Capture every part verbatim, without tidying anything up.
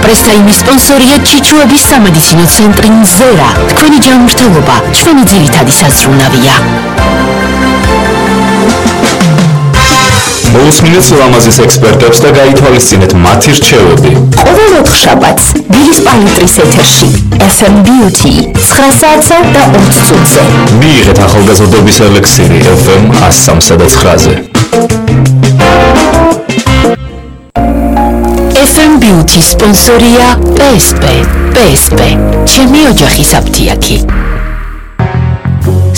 პრესტაიმის სპონსორია ჩიჩუების სამედიცინო ცენტრი მზერა. თქვენი ჯანმრთელობა ჩვენი ძირითადი საზრუნავია. მოусმინეთ ლამაზის ექსპერტებს და გაითვალისწინეთ მათი რჩევები. ყოველ ოთხშაბათს დილის პალიტრის ეთერში ეფ ემ Beauty ცხრა საათსა და ოცი წუთზე. მიიღეთ ახალგაზრდობის ელექსირი ეფ ემ ას სამსა და ცხრაზე. ეფ ემ Beauty სპონსორია პე ეს პე. პე ეს პე ჩემი ოჯახის აფთიაქი.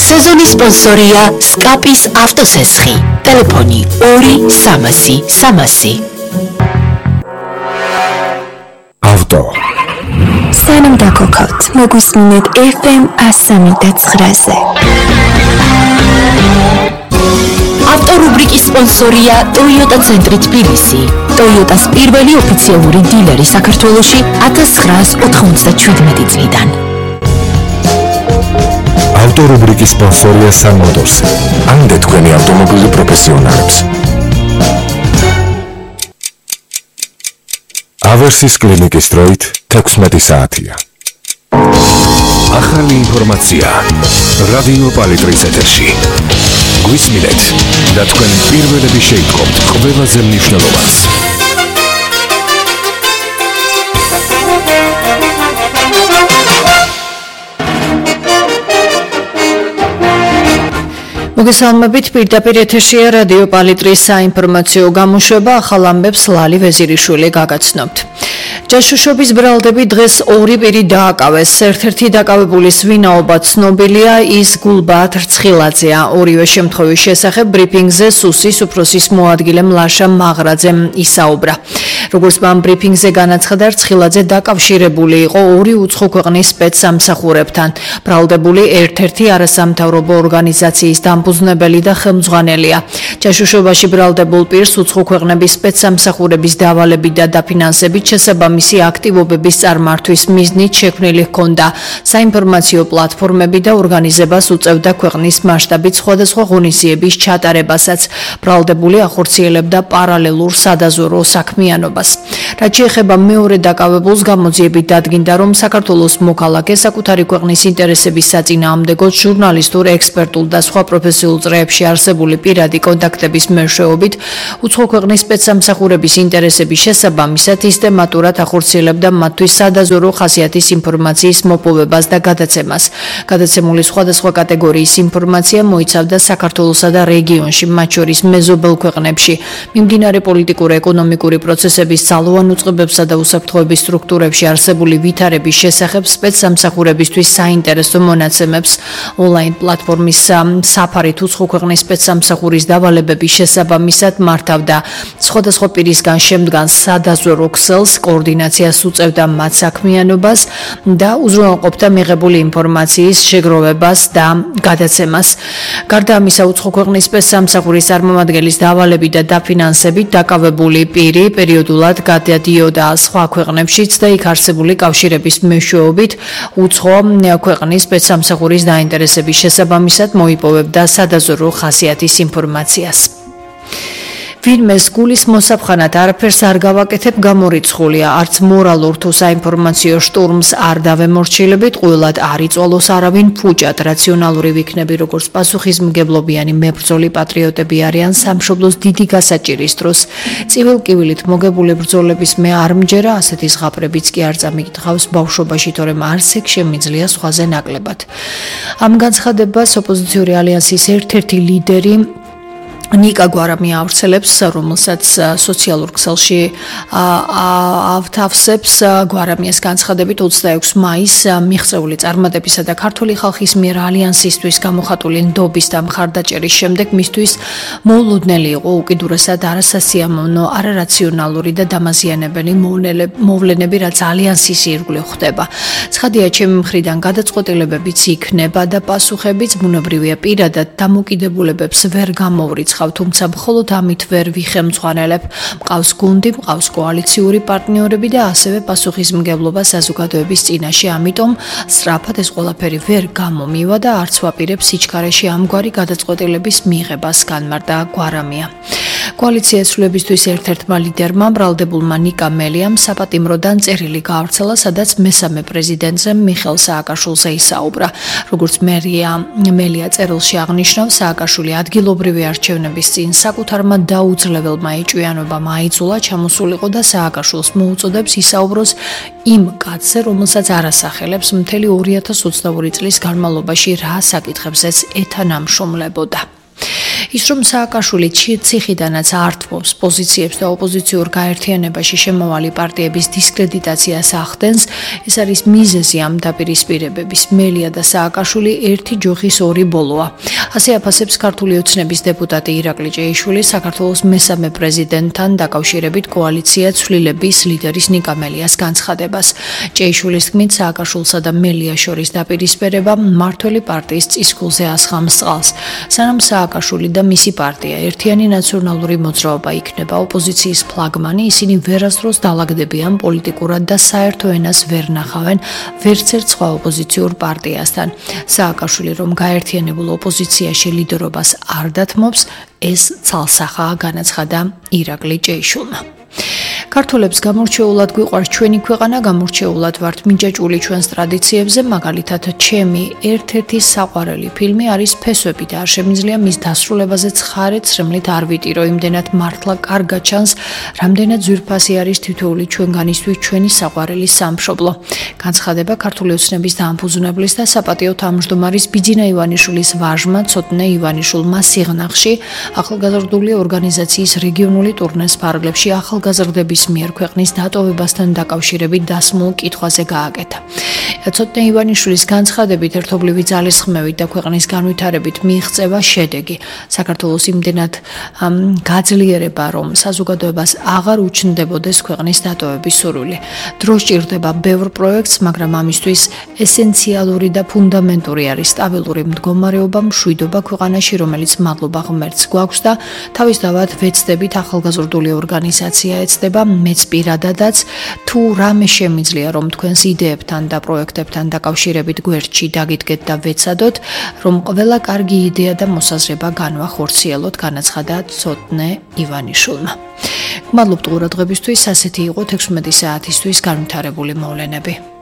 სეზონის სპონსორია სკაპის ავტოსესხი. ტელეფონი ორი სამასი სამასი. ავტო სანამ დაგოქოთ, მოგუსმინეთ ეფ ემ ას სამი და ცხრაზე. ავტორუბრიკის სპონსორია ტოიოტა ცენტრი თბილისი. ტოიოტას პირველი ოფიციალური დილერი საქართველოში ათას ცხრაას ოთხმოცდაშვიდმეტი წლიდან. ავტორუბრიკის სპონსორია Sun Motors. ამდე თქვენი ავტომობილი პროფესიონალებს. ავერსის კლინიკის დროით თექვსმეტი საათია. ახალი ინფორმაცია რადიო პალიტრის ეთერში. გვისმინეთ და თქვენ პირველები შეიტყობთ ყველაზე მნიშვნელოვანს. მოგესალმებით, პირდაპირ ეთერშია რადიო პალიტრის საინფორმაციო გამოშვება, ახალ ამბებს ლალი ვეზირიშვილი გაგაცნობთ. ჯაშუშობის ბრალდები დღეს ორი პირი დააკავეს. ერთ-ერთი დაკავებულის ვინაობა ცნობილია, ის გულბაათ რცხილაძეა. ორივე შემთხვევის შესახებ ბრიფინგზე სუსის უფროსის მოადგილემ ლაშა მაღრაძემ ისაუბრა. როგორც მან ბრიფინგზე განაცხადა, რცხილაძე დაკავშირებული იყო ორი უცხო ქვეყნის სპეცსამსახურებთან. ბრალდებული ერთ-ერთი არასამთავრობო ორგანიზაციის დამფუძნებელი და ხელმძღვანელია. ჯაშუშობაში ბრალდებულ პირს უცხო ქვეყნების სპეცსამსახურების დავალებით და დაფინანსებით შესაბამისი აქტივობების წარმართვის მიზნით შექმნილი ჰქონდა. საინფორმაციო პლატფორმები და ორგანიზებას უწევდა ქვეყნის მასშტაბით სხვადასხვა ღონისძიების ჩატარებასაც. ბრალდებული ახორციელებდა პარალელურ სადაზვერვო საქმიანობას. რაც შეეხება მეორე დაკავებულს, გამოძიებით დადგინდა, რომ საქართველოს მოქალაქე საკუთარი ქვეყნის ინტერესების საწინააღმდეგოდ ჟურნალისტურ, ექსპერტულ და სხვა პროფესიულ წრეებში არსებული პირადი კონტაქტების მეშვეობით უცხო ქვეყნის სპეცსამსახურების ინტერესების შესაბამისად სისტემატურად ახორციელებდა მათთვის სადაზვერვო ხასიათის ინფორმაციის მოპოვებას და გადაცემას. გადაცემული სხვადასხვა კატეგორიის ინფორმაცია მოიცავდა საქართველოსა და რეგიონში, მათ შორის მეზობელ ქვეყნებში, მიმდინარე პოლიტიკურ-ეკონომიკური პროცესების ძალოვან უწყებებსა და უსაფრთხოების სტრუქტურებში არსებული ვითარების შესახებ სპეცსამსახურებისთვის საინტერესო მონაცემებს. ონლაინ პლატფორმის საფარით უცხო ქვეყნის სპეცსამსახურის დავალებების შესაბამისად მართავდა სხვადასხვა პირისგან შემდგან სადაზვერვო ქსელს, კოორდინაციას უწევდა მათ საქმიანობას და უზრუნველყოფდა მიღებული ინფორმაციის შეგროვებას და გადაცემას. გარდა ამისა, უცხო ქვეყნის სპეცსამსახურის წარმომადგენლის დავალებით და დაფინანსებით დაკავებული პირი პერიოდულად გადადიოდა სხვა ქვეყნებშიც და იქ არსებული კავშირების მეშვეობით უცხო ქვეყნის სპეცსამსახურის დაინტერესების შესაბამისად მოიპოვებდა სადაზვერვო ხასიათის ინფორმაციას. ვინმეს გულის მოსაფხანად არაფერს არ გავაკეთებ გამორიცხულია, არც მორალურ თუ საინფორმაციო შტურმს არ დავემორჩილებით, ყველად არ იწვალოს არავინ ფუჭად, რაციონალური ვიქნები, როგორც პასუხისმგებლობიანი მებრძოლი პატრიოტები არიან სამშობლოს დიდი გასაჭირის დროს. წივილ-კივილით მოგებული ბრძოლების მე არ მჯერა, ასეთი ზღაპრებიც კი არ წამიკითხავს ბავშვობაში, თორემ არც ეგ შემიძლია სხვაზე ნაკლებად. ამ განცხადებას ოპოზიციური ალიანსის ერთ-ერთი ლიდერი ნიკა გვარამი ავრცელებს, რომელსაც სოციალურ ქსელში ავთავსებს. გვარამიას განცხადებით ოცდაექვსი მაისს მიღწეული წარმატებისა და ქართული ხალხის მიერ ალიანსისთვის გამოხატული ნდობის და მხარდაჭერის შემდეგ მისთვის მოულოდნელი იყო უკიდურესად არასასიამოვნო, არარაციონალური და დამაზიანებელი მოვლენები, რაც ალიანსის ირგვლივ ხდება. ცხადია, ჩემი მხრიდან გადაწყვეტილებებიც იქნება და პასუხებიც, ბუნებრივია, პირადად დამოკიდებულებებს ვერ გამოვრიცხავ. გულისხავ, თუმცა მხოლოდ ამით ვერ ვიხემძღვანელებ. მყავს გუნდი, მყავს კოალიციური პარტნიორები და ასევე პასუხისმგებლობა საზოგადოების წინაშე, ამიტომ სწრაფად ეს ყველაფერი ვერ გამომივა და არც ვაპირებ სიჩქარეში ამგვარი გადაწყვეტილების მიღებას, განმარტა გვარამია. კოალიციას ცვლილებისთვის ერთ-ერთმა ლიდერმა, ბრალდებულმა ნიკა მელიამ საპატიმროდან წერილი გაავრცელა, სადაც მესამე პრეზიდენტზე მიხეილ სააკაშვილზე ისაუბრა. როგორც მერია მელია წერილში აღნიშნავს, სააკაშვილი ადგილობრივი არჩევნების წინ საკუთარმა დაუძლებელმა ეჭვიანობამ აიძულა ჩამოსულიყო და სააკაშვილს მოუწოდებს ისაუბროს იმ კაცზე, რომელსაც არ ასახელებს მთელი ორი ათას ოცდაორი წლის განმავლობაში რა საკითხებზეც ეთანამშრომლებოდა. ის რომ სააკაშვილი ციხიდანაც ართმობს პოზიციებს და ოპოზიციურ გაერთიანებაში შემავალი პარტიების დისკრედიტაციას ახდენს, ეს არის მიზეზი ამ დაპირისპირებების. მელია და სააკაშვილი ერთი ჯოხის ორი ბოლოა. ასე აფასებს ქართული ოცნების დეპუტატი ირაკლი ჭეიშვილი საქართველოს მესამე პრეზიდენტთან დაკავშირებით კოალიცია ცვლილების ლიდერის ნიკა მელიას განცხადებას. ჭეიშვილის თქმით, სააკაშვილსა და მელიას შორის დაპირისპირება მმართველი პარტიის წისქულზე ასხამს წყალს. სანამ სააკაშვილი და მისი პარტია ერთიანი ნაციონალური მოძრაობა იქნება ოპოზიციის ფლაგმანი, ისინი ვერასდროს დაალაგდებიან პოლიტიკურად და საერთო ენას ვერ ნახავენ ვერც ერთ სხვა ოპოზიციურ პარტიასთან. სააკაშვილი რომ გაერთიანებულ ოპოზიციაში ლიდერობას არ დათმობს, ეს ცალსახაა, განაცხადა ირაკლი ჭეიშვილმა. ქართველებს გამორჩეულად გვიყვარს ჩვენი ქვეყანა, გამორჩეულად ვართ მინჯაჭული ჩვენს ტრადიციებზე, მაგალითად, ჩემი ერთ-ერთი საყვარელი ფილმი არის ფესვები და არ შემიძლია მის დასრულებაზე ცხარე ცრემლით არ ვიტირო, იმდენად მართლა კარგად ჩანს, რამდენად ძვირფასი არის თითოეული ჩვენგანისთვის ჩვენი საყვარელი სამშობლო. განცხადება ქართული ოცნების დამფუძნებლის და საპატიო თავმჯდომარის ბიძინა ივანიშვილის ვაჟმა ცოტნე ივანიშვილმა სიღნაღში ახალგაზრდული ორგანიზაციის რეგიონული ტურნეს ფარგლებში ახალგაზრდების მიერ ქვეყნის დატოვებასთან დაკავშირებით დასმულ კითხვაზე გააკეთა. ცოტნე ივანიშვილის განცხადებით, ერთობლივი ძალისხმევით და ქვეყნის განვითარებით მიიღწევა შედეგი. საქართველოს იმდენად გაძლიერება, რომ საზოგადოებას აღარ უჩნდებოდეს ქვეყნის დატოვების სურვილი. დრო სჭირდება ბევრ პროექტს, მაგრამ ამისთვის ესენციალური და ფუნდამენტური არის სტაბილური მდგომარეობა, მშვიდობა ქვეყანაში, რომელიც მადლობა ღმერთს გვაქვს და თავისთავად ვეცდებით ახალგაზრდული ორგანიზაცია ეცდება, მეც პირადადაც თუ რამე შემიძლია, რომ თქვენს იდეებთან და პროექტებთან დაკავშირებით გვერდში დაგიდგეთ და ვეცადოთ, რომ ყველა კარგი იდეა და მოსაზრება განვახორციელოთ, განაცხადა ცოტნე ივანიშვილმა. გმადლობთ ყურადღებისთვის, ასეთი იყო თექვსმეტი საათისთვის განვითარებული მოვლენები.